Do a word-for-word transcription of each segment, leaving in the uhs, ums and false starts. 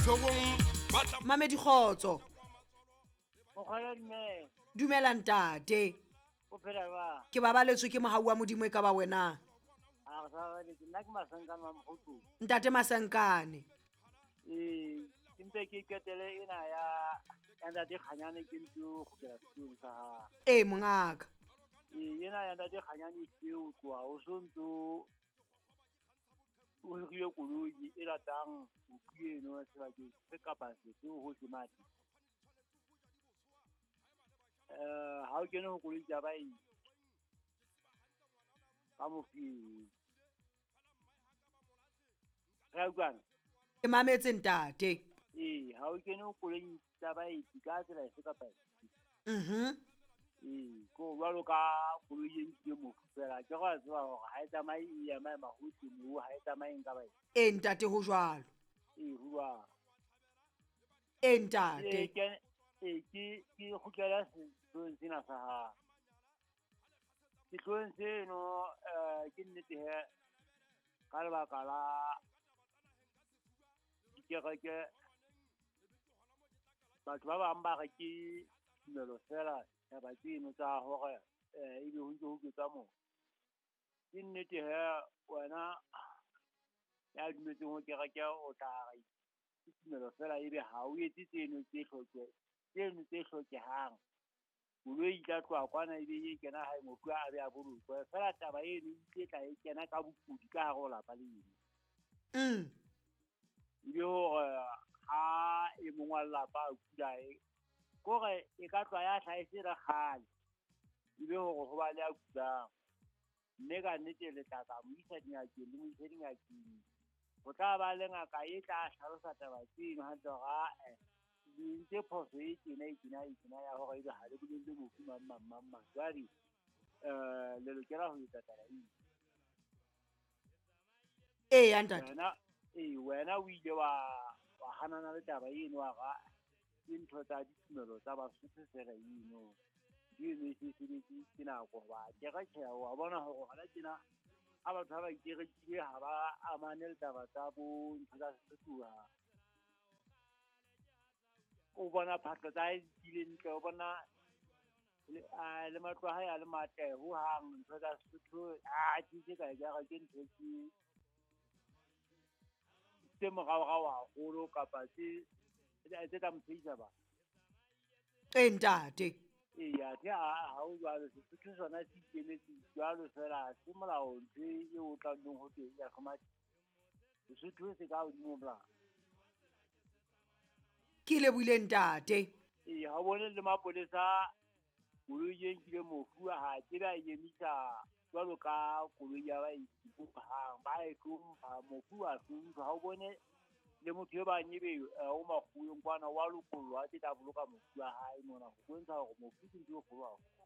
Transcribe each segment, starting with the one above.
Mamedi kgotso. Mokgwala dumela. Dumela ntate. O phela jwang? Ke babaletswe ke mohau wa Modimo e ka ba wena. A re sa babaletse, nna ke Masankane wa Mokgotlong. Ntate Masankane. Ee, ke mpe ke qetele ena ya ya ntate Kganyane ke ntse ho kgutlela setulong sa hae. Ee mongaka. Ee, ena ya ntate Kganyane e o tloha o so ntso o hirile koloi e latang mofu eno sebakeng se kapa sefe hohle mane. Eh, ha o kene ho koloi tsa baeti ka mofu eo. Re a utlwana? Ke mametse ntate. Ee, ha o kene ho koloi tsa baeti ka tsela efe kapa efe. Mhm. Ee, ko jwalo ka koloi e nkile mofu fela, ke re wa tseba hore ha e tsamaye e ema ema hohle moo, ha e tsamaye nka baeti. Ee ntate ho jwalo. Ee, ho jwalo. Ee ntate. Ee, ke ee, ke ke kgutlela sehloohong sena sa hao. Sehloohong seno eh ke nnete he ka lebaka la dikereke batho ba bang ba re ke tumelo fela taba tseno tsa hore eh ebe ho ntse ho ketsa moo. Ke nnete he wena ya dumetseng ho kereke o tla re ke tumelo fela ebe ha o etse tseno tse hloke tseno tse hlokehang. Koloi e tla tloha kwana ebe e kena hae mofu a be a bolokwe. Fela taba eno e tle tla e kena ka bokudi ka hare ho lapa leno. Mm. Ebe hore ha e mong wa lelapa a kula e kore e ka tloha ya hlaha e se le kgale. Ebe hore ho ba le a kulang. Mme ka nnete le tla tla mo isa dingakeng le mo ise dingakeng. Ho tla ba le ngaka e tla hlalosa taba tseno hantle hore ae le entse phoso e tjena e tjena e tjena ya hore ebe ha le bolelle mofu mang mang mang mang. Jwale eh le lokela ho etsa taba eo. Ee ya ntate. Wena ee wena o ile wa wa hanana le taba eno wa re ke ntho tsa ditumelo tsa Basotho fela eno. Ntho eno e se sebetse ke nako hoba kereke wa bona hore hona tjena ha batho ha ba ikerekile ha ba amane le taba tsa bo ntho tsa Sesotho hohang. O bona phahlo tsa hae di le ntle, o bona le a le matlo a hae a le matle hohang ntho tsa Sesotho a tse ka ekare ke ntho tse tse moraorao haholo kapa tse tse tla mo tshehisa batho. Ee ntate. Ee, athe ha ha ho jwalo Sesotho sona se ikemetse jwalo fela ha se molao ntho eo o tlang ho twe ya hlomathisa. Sesotho se ka hodimo ho molao. Ke lebohile ntate. Ee, ha o bone le mapolesa koloi e nkile mofu ha tsebe a emisa jwalo ka koloi ya baeti hohang. Ba e hlompha, mofu wa hlompha. Ha o bone le motho e bang ebe o makgoweng kwana wa lokollwa a tla boloka mofu wa hae mona ho bontsha hore mofu ke ntho e kgolo haholo.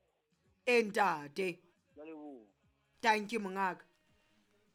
Ee ntate. Ke a leboha. Tanki mongaka.